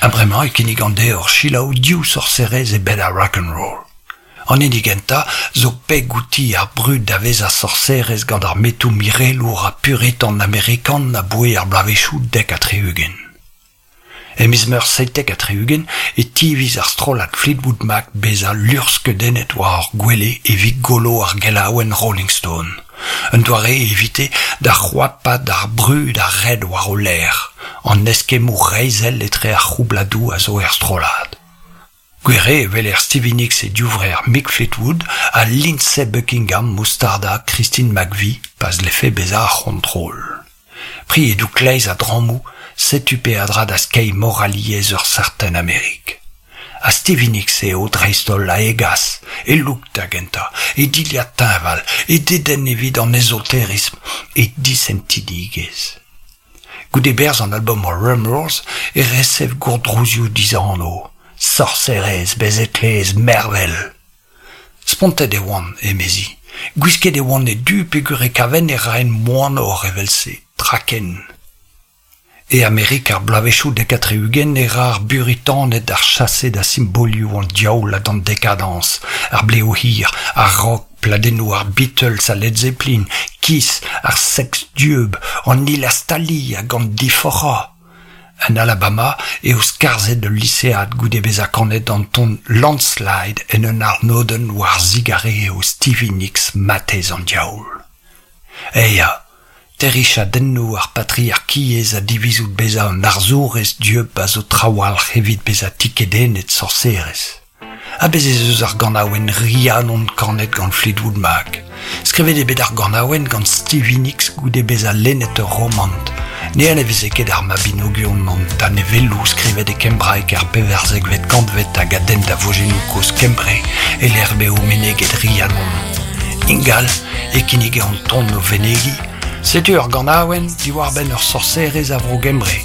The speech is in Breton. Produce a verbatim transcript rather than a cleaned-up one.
Ha bremañ e kinnigan deoc'h selaou div sorserez e bed ar rock'n'roll. An hini gentañ zo peg outi ar brud da vezañ sorserez gant ar metoù mirelour ha puritan amerikan aboae ar bloavezhioù dek ha tri-ugent. E miz Meurzh seitek ha tri-ugent e tiviz ar strollad Fleetwood Mac bezañ luc'hskeudennet war ur gwele evit golo ar gelaouenn Rolling Stone. Un doare evite da c'hoapaat ar brud a red war o lerc'h, an eskemmoù reizhel etre ar c'houbladoù a zo er strollad. Gwir eo e weler Stevie Nicks e divrec'h Mick Fleetwood ha Lindsey Buckingham o stardañ Christine McVie pa zlefe bezañ ar c'hontrol. Priedoù kleiz ha drammoù, setu peadra da skeiñ moraliezh ur serten Amerik. Ha Stevie Nicks eo dreist-holl a hegas, e look da gentañ, e dilhad teñval, e dedenn evit an ezoterism, e disentidigezh. Goude berzh an album Rumours e resev gourdrouzioù dizanv. Sorserez, bez' e tleez mervel. Spontet e oan, emezi. Gwisket e oan e du peogwir e kaven e raen moanoc'h evel-se, traken. E Amerik ar bloavezhioù dek ha tri-ugent e ra ar buritaned ar chase da simbolioù an diaoul ha d'an dekadañs, ar blev hir, ar rock, pladennoù ar Beatles ha Led Zeppelin, Kiss, ar seks dieub, an hilastaliñ hag an diforc'hañ. En Alabama eo skarzhet ul lisead goude bezañ kanet an ton Landslide en un arnodenn war zigarez eo Stevie Nicks matezh an diaoul. Eh ya, terriñ chadennoù ar patriarkiezh ha divizout bezañ un arzourez dieub a zo trawalc'h evit bezañ tikedennet sorserez. Ha bez' ez eus ar ganaouenn Rhiannon kanet gant Fleetwood Mac. Skrivet eo bet ar ganaouenn gant Stevie Nicks goude bezañ lennet ur romant. Ne anaveze ket ar Mabinogion an danevelloù skrivet e kembraeg er pevarzekvet kantved hag a denn da vojennoù kozh Kembre e-lec'h m'eo meneget Rhiannon. Ingal e kinnige an ton o venegiñ, setu ur ganaouenn diwar-benn ur sorserez a vro Gembre.